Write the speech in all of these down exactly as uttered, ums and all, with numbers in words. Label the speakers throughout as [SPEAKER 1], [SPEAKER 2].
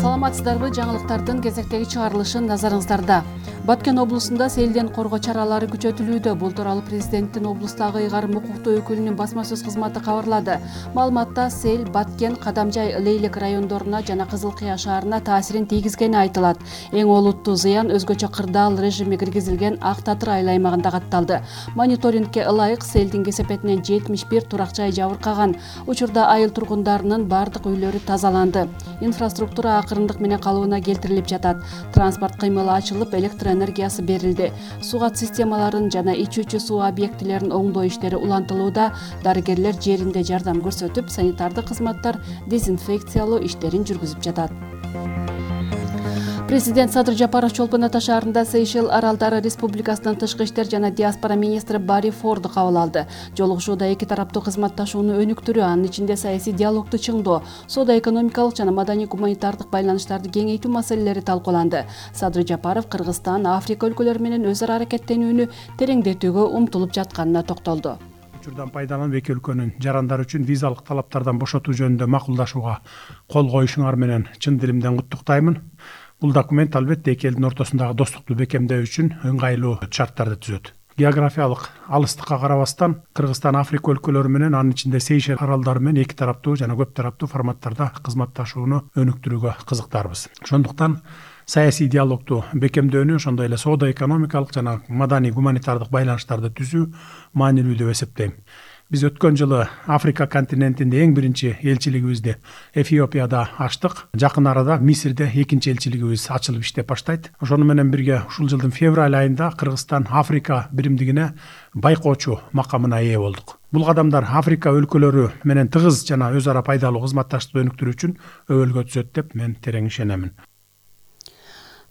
[SPEAKER 1] Саламатсыздарбы, жаңылыктардын кезектеги чыгарылышы назарыңыздарда. Баткен облусунда селден коргоо чаралары күчөтүлүүдө. Бул тууралуу президенттин облустагы ыйгарым укуктуу өкүлүнүн басма сөз кызматы кабарлады. Маалыматта сел Баткен, Кадамжай, Лейлек райондоруна жана Кызыл Кыя шаарына таасирин тийгизгени айтылат. Эң олуттуу зыян өзгөчө кырдаал режими киргизилген Ак Татыр айыл аймагында катталды. Мониторингке ылайык селдин кесепетинен жетимиш бир турак жай жабыркаган. Учурда айыл тургундарынын бардык үйлөрү тазаланды. Инфраструктура акырындык менен калыбына келтирилип жатат. Транспорт кыймылы ачылып, электр энергиясы берилди. Сугат системаларын жана ичүүчү суу объектилерин оңдоо иштери улантылууда. Дарыгерлер жеринде жардам көрсөтүп, санитардык кызматтар дезинфекциялоо иштерин жүргүзүп жатат. Президент Садыр Жапаров Чолпон Ата шаарында Сейшел Аралдары Республикасынын тышкы иштер жана диаспора министри Барри Форду кабыл алды. Жолугушууда эки тараптуу кызматташууну өнүктүрүү, анын ичинде саясий диалогду чыңдоо, соода-экономикалык жана маданий-гуманитардык байланыштарды кеңейтүү маселелери талкууланды. Садыр Жапаров Кыргызстан, Африка өлкөлөрү менен өз ара аракеттенүүнү тереңдетүүгө умтулуп жатканына токтолду.
[SPEAKER 2] Учурдан пайдаланып эки өлкөнүн жарандары үчүн визалык талаптардан бошотуу жөнүндө макулдашууга кол коюшуңар менен чын дилимден куттуктаймын. Бул документ албетте эки элдин ортосундагы достукту бекемдөө үчүн ыңгайлуу шарттарды түзөт. Географиялык алыстыкка карабастан Кыргызстан, Африка өлкөлөрү менен, анын ичинде Сейшел аралдары менен эки тараптуу жана көп тараптуу форматтарда кызматташууну өнүктүрүүгө кызыктарбыз. Ошондуктан саясий диалогду бекемдөөнү, ошондой эле соода-экономикалык жана маданий-гуманитардык байланыштарды түзүү маанилүү деп эсептейм. Биз өткөн жылы Африка континентинде эң биринчи элчилигибизди Эфиопияда ачтык. Жакын арада Мисирде экинчи элчилигибиз ачылып иштеп баштайт. Ошону менен бирге ушул жылдын февраль айында Кыргызстан Африка биримдигине байкоочу макамына ээ болдук. Бул кадамдар Африка өлкөлөрү менен тыгыз жана өз ара пайдалуу кызматташтыкты өнүктүрүү үчүн өбөлгө түзөт деп мен терең ишенемин.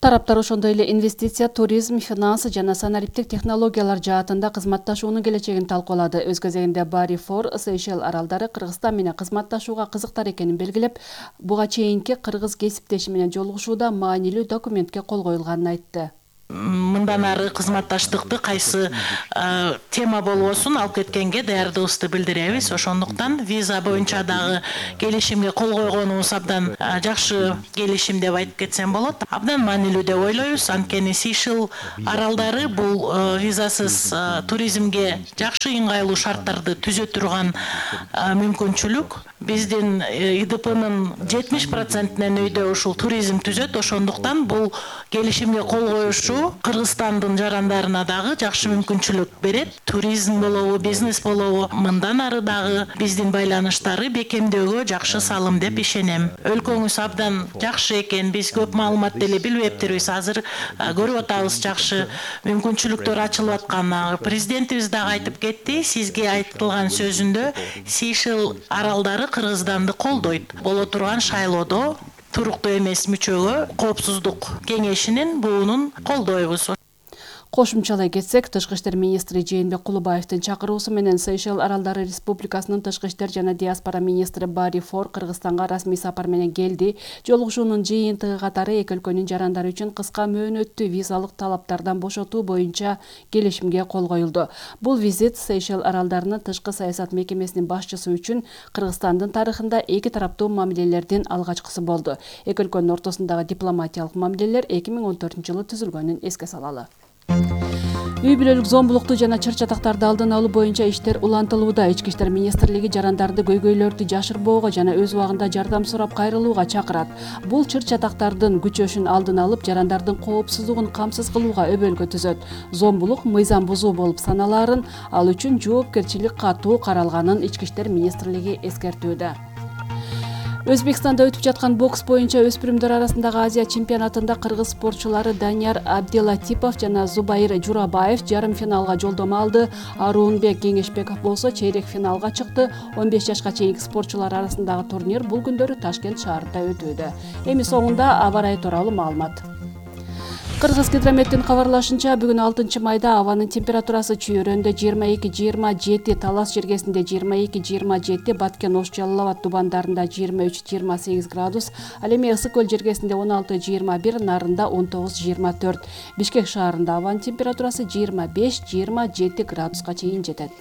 [SPEAKER 1] Тараптар ошондой эле инвестиция, туризм, финанс жана санариптик технологиялар жаатында кызматташуунун келечегин талкуулады. Өз кезегинде Барри Фор Сейшел аралдары Кыргызстан менен кызматташууга кызыктар экенин белгилеп, буга чейинки кыргыз кесиптеши менен жолугушууда маанилүү документке кол коюлганын айтты.
[SPEAKER 3] Мындан ары кызматташтыкты кайсы тема болбосун алып кеткенге даярдыгыбызды билдиребиз. Ошондуктан виза боюнча дагы келишимге кол койгонубуз абдан жакшы келишим деп айтып кетсем болот. Абдан маанилүү деп ойлойбуз. Анткени Сейшел аралдары бул визасыз туризмге жакшы ыңгайлуу шарттарды түзө турган мүмкүнчүлүк. Биздин И Д П'нын жетимиш процентинен өйдө ушул туризм түзөт. Ошондуктан бул келишимге кол коюшу Кыргызстандын жарандарына дагы жакшы мүмкүнчүлүк берет. Туризм болобу, бизнес болобу, мындан ары дагы биздин байланыштары бекемдөөгө жакшы салым деп ишенем. Өлкөңүз абдан жакшы экен. Биз көп маалымат деле билбептирбиз. Азыр көрүп атабыз жакшы мүмкүнчүлүктөр ачылып атканын. Президентибиз дагы айтып кетти. Сизге айтылган сөзүндө Сейшел аралдары Кыргызстанды колдойт. Боло турган шайлоодо туруктуу эмес мүчөгө Коопсуздук кеңешинин буунун колдойбуз.
[SPEAKER 1] Кошумчалай кетсек, тышкы иштер министри Жээнбек Кулубаевдин чакыруусу менен Сейшел аралдары республикасынын тышкы иштер жана диаспора министри Барри Фор Кыргызстанга расмий сапар менен келди. Жолугушуунун жыйынтыгы катары эки өлкөнүн жарандары үчүн кыска мөөнөттүү визалык талаптардан бошотуу боюнча келишимге кол коюлду. Бул визит Сейшел аралдарынын тышкы саясат мекемесинин башчысы үчүн Кыргызстандын тарыхында эки тараптуу мамилелердин алгачкысы болду. Эки өлкөнүн ортосундагы дипломатиялык мамилелер эки миң он төртүнчү жылы түзүлгөнүн эске салалы. Үй бүлөлүк зомбулукту жана чыр-чатактарды алдын алуу боюнча иштер улантылууда. Ички иштер министрлиги жарандарды көйгөйлөрдү жашырбоого жана өз убагында жардам сурап кайрылууга чакырат. Бул чыр-чатактардын күчөшүн алдын алып, жарандардын коопсуздугун камсыз кылууга өбөлгө түзөт. Зомбулук мыйзам бузуу болуп саналаарын, ал үчүн жоопкерчилик катуу каралганын Ички иштер министрлиги эскертүүдө. Өзбекстанда өтүп жаткан бокс боюнча өспүрүмдөр арасындагы Азия чемпионатында кыргыз спортчулары Данияр Абделатипов жана Зубайыр Журабаев жарым финалга жолдомо алды. Аруунбек Кеңешбеков болсо чейрек финалга чыкты. он беш жашка чейинки спортчулар арасындагы турнир бул күндөрү Ташкент шаарында өтүүдө. Эми соңунда аба ырайы тууралуу маалымат. Кыргыз гидрометтин кабарлашынча, бүгүн алтынчы майда абанын температурасы Чүйөрөндө жыйырма эки жыйырма жети, Талас жергесинде жыйырма эки жыйырма жети, Баткен, Ош, Жалал Абад тубандарында жыйырма үч жыйырма сегиз градус, ал эми Ысык көл жергесинде он алты жыйырма бир, Нарында он тогуз жыйырма төрт. Бишкек шаарында абанын температурасы жыйырма беш жыйырма жети градуска чейин жетет.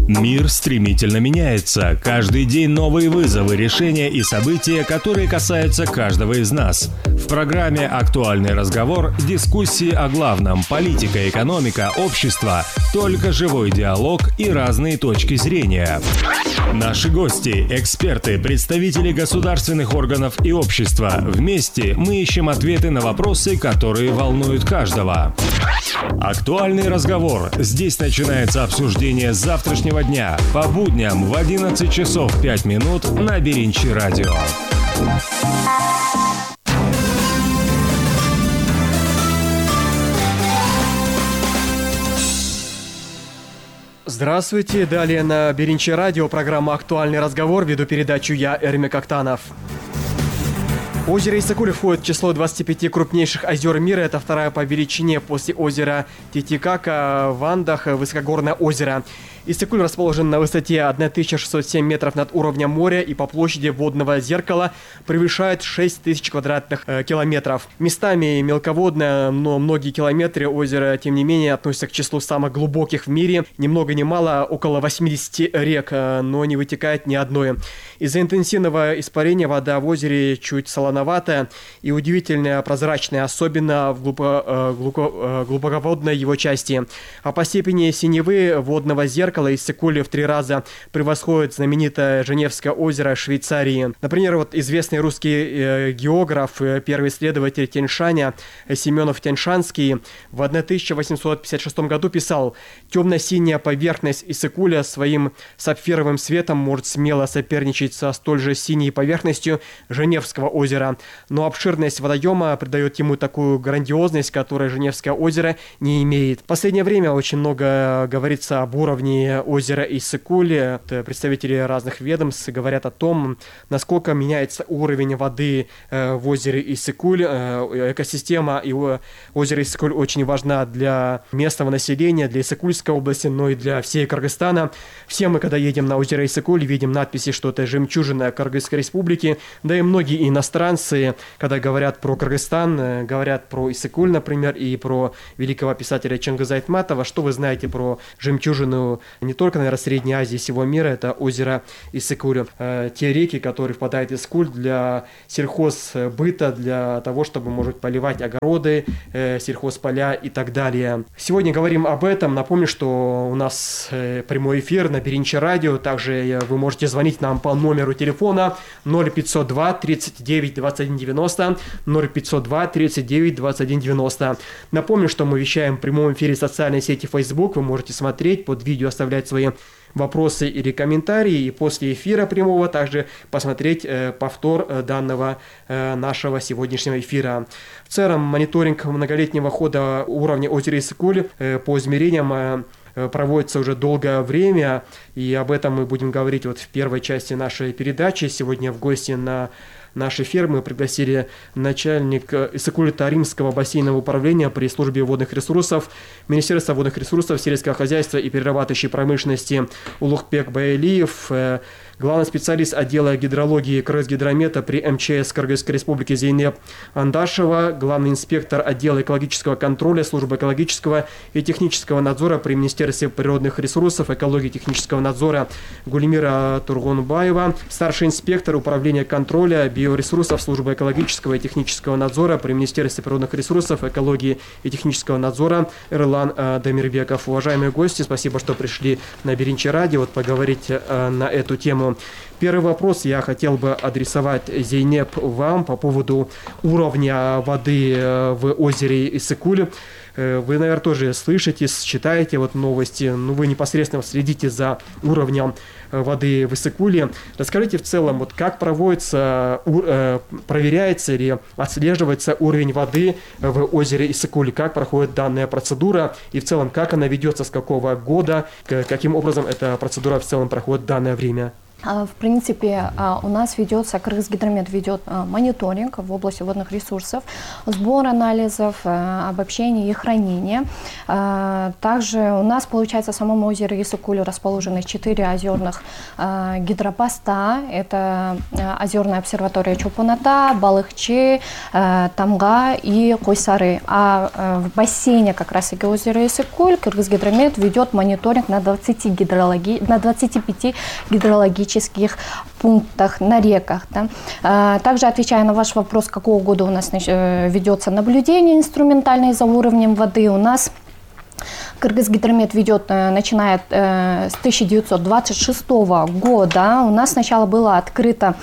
[SPEAKER 4] Мир стремительно меняется. Каждый день новые вызовы, решения и события, которые касаются каждого из нас. В программе «Актуальный разговор» дискуссии о главном – политика, экономика, общество, только живой диалог и разные точки зрения. Наши гости – эксперты, представители государственных органов и общества. Вместе мы ищем ответы на вопросы, которые волнуют каждого. «Актуальный разговор». Здесь начинается обсуждение завтрашнего дня по будням в одиннадцать часов пять минут на Беринчи радио.
[SPEAKER 5] Здравствуйте, далее на Беринчи радио программа «Актуальный разговор», веду передачу я, Эрмик Актанов. Озеро Иссык-Куль входит в число двадцати пяти крупнейших озер мира. Это вторая по величине после озера Титикака в Андах высокогорное озеро. Иссык-Куль расположен на высоте тысяча шестьсот семь метров над уровнем моря и по площади водного зеркала превышает шесть тысяч квадратных э, километров. Местами мелководное, но многие километры озера, тем не менее, относятся к числу самых глубоких в мире. Ни много ни мало, около восьмидесяти рек, э, но не вытекает ни одной. Из-за интенсивного испарения вода в озере чуть солоноватая и удивительно прозрачная, особенно в глубоко, э, глубоко, э, глубоководной его части. А по степени синевы водного зеркала Иссык-Куль в три раза превосходит знаменитое Женевское озеро Швейцарии. Например, вот известный русский э, географ, э, первый исследователь Тяньшаня э, Семенов Тяньшанский в тысяча восемьсот пятьдесят шестом году писал: «Темно-синяя поверхность Иссык-Куля своим сапфировым светом может смело соперничать со столь же синей поверхностью Женевского озера, но обширность водоема придает ему такую грандиозность, которой Женевское озеро не имеет». В последнее время очень много говорится об уровне озера Иссык-Куль. Представители разных ведомств говорят о том, насколько меняется уровень воды в озере Иссык-Куль. Экосистема и озера Иссык-Куль очень важна для местного населения, для Иссык-Кульской области, но и для всей Кыргызстана. Все мы, когда едем на озеро Иссык-Куль, видим надписи, что это жемчужина Кыргызской республики. Да и многие иностранцы, когда говорят про Кыргызстан, говорят про Иссык-Куль, например, и про великого писателя Чингиза Айтматова. Что вы знаете про жемчужину не только, наверное, Средней Азии, всего мира, это озеро Иссык-Куль. Э, те реки, которые впадают в Иссык-Куль для сельхозбыта, для того, чтобы, может, поливать огороды, э, сельхозполя и так далее. Сегодня говорим об этом. Напомню, что у нас э, прямой эфир на Беринчи радио. Также э, вы можете звонить нам по номеру телефона ноль пятьсот два тридцать девять двадцать один девяносто, ноль пятьсот два тридцать девять двадцать один девяносто. Напомню, что мы вещаем в прямом эфире в социальной сети Facebook. Вы можете смотреть под видео, оставлять свои вопросы или комментарии, и после эфира прямого также посмотреть э, повтор э, данного э, нашего сегодняшнего эфира. В целом, мониторинг многолетнего хода уровня озера Иссык-Куль э, по измерениям э, проводится уже долгое время, и об этом мы будем говорить вот в первой части нашей передачи. Сегодня в гости на нашей фермы пригласили начальника Иссык-Куль-Таримского бассейнового управления при службе водных ресурсов Министерства водных ресурсов, сельского хозяйства и перерабатывающей промышленности Улукбек Байлиев, главный специалист отдела гидрологии Кыргызгидромета при эм че эс Кыргызской республики Зейнеп Андашева, главный инспектор отдела экологического контроля службы экологического и технического надзора при Министерстве природных ресурсов, экологии и технического надзора Гулимира Тургунбаева, старший инспектор управления контроля биоресурсов службы экологического и технического надзора при Министерстве природных ресурсов, экологии и технического надзора Эрлан э, Дамирбеков. Уважаемые гости, спасибо, что пришли на Беринчи радио вот поговорить э, на эту тему. Первый вопрос я хотел бы адресовать, Зейнеп, вам по поводу уровня воды в озере Иссык-Куль. Вы, наверное, тоже слышите, читаете вот новости, но вы непосредственно следите за уровнем воды в Иссык-Куле. Расскажите в целом, вот как проводится, проверяется или отслеживается уровень воды в озере Иссык-Куль, как проходит данная процедура и в целом как она ведется, с какого года, каким образом эта процедура в целом проходит в данное время?
[SPEAKER 6] В принципе, у нас ведется, Кыргызгидромет ведет мониторинг в области водных ресурсов, сбор анализов, обобщение и хранение. Также у нас, получается, в самом озере Исыкуль расположены четыре озерных гидропоста. Это озерная обсерватория Чолпон-Ата, Балыкчы, Тамга и Койсары. А в бассейне как раз-таки озера Исыкуль Кыргызгидромет ведет мониторинг на двадцати, гидрологи... на двадцати пяти гидрологических пунктах на реках. Да. Также, отвечая на ваш вопрос, какого года у нас ведется наблюдение инструментальное за уровнем воды, у нас Кыргызгидромет ведет, начиная с тысяча девятьсот двадцать шестого года. У нас сначала было открыто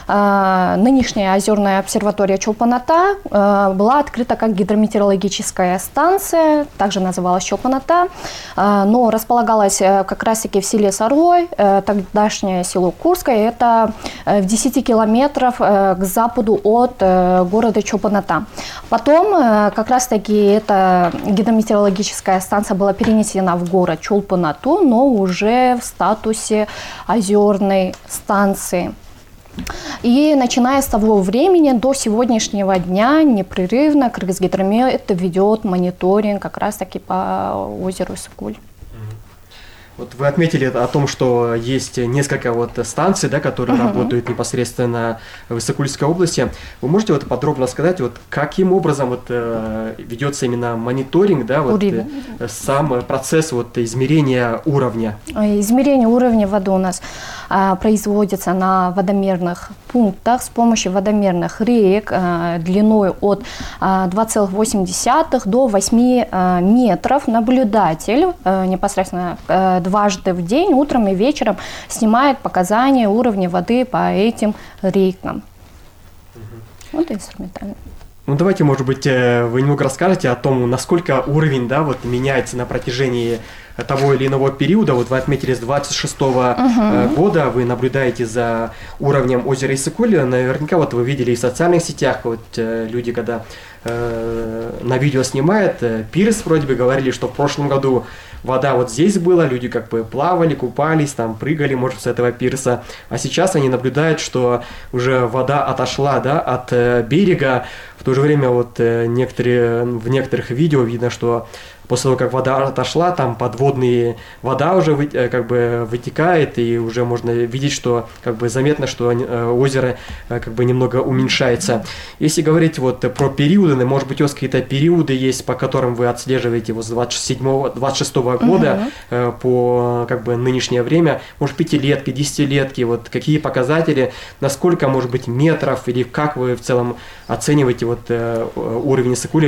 [SPEAKER 6] нынешняя озерная обсерватория Чолпон-Ата, была открыта как гидрометеорологическая станция, также называлась Чолпон-Ата, но располагалась как раз-таки в селе Сарлой, тогдашнее село Курское, это в десяти километрах к западу от города Чолпон-Ата. Потом как раз-таки эта гидрометеорологическая станция была перенесена в город Чолпон-Ату, но уже в статусе озерной станции. И начиная с того времени до сегодняшнего дня непрерывно Кыргызгидромет ведет мониторинг как раз-таки по озеру Исыкуль.
[SPEAKER 5] Вот вы отметили о том, что есть несколько вот станций, да, которые uh-huh. работают непосредственно в Исыкульской области. Вы можете вот подробно сказать, вот каким образом вот э, ведется именно мониторинг, да, вот э, сам процесс вот измерения уровня?
[SPEAKER 6] Измерение уровня воды у нас э, производится на водомерных пунктах с помощью водомерных реек э, длиной от э, два целых восемь десятых до восьми э, метров. Наблюдатель э, непосредственно э, дважды в день, утром и вечером, снимает показания уровня воды по этим рекам. Угу. Вот инструментально.
[SPEAKER 5] Ну давайте, может быть, вы немного расскажете о том, насколько уровень, да, вот меняется на протяжении того или иного периода. Вот вы отметили с двадцать шестого uh-huh. года, вы наблюдаете за уровнем озера Исыкуль. Наверняка вот вы видели и в социальных сетях, вот люди, когда э, на видео снимают, пирс вроде бы говорили, что в прошлом году вода вот здесь была, люди как бы плавали, купались, там прыгали, может, с этого пирса. А сейчас они наблюдают, что уже вода отошла, да, от э, берега. В то же время вот э, некоторые, в некоторых видео видно, что после того, как вода отошла, там подводная вода уже вы, как бы вытекает, и уже можно видеть, что как бы заметно, что озеро как бы немного уменьшается. Если говорить вот про периоды, может быть, у вас какие-то периоды есть, по которым вы отслеживаете вот с двадцать седьмого двадцать шестого года uh-huh. по как бы нынешнее время, может, пятилетки, десятилетки, вот какие показатели, насколько, может быть, метров, или как вы в целом оцениваете вот уровень Исыкуля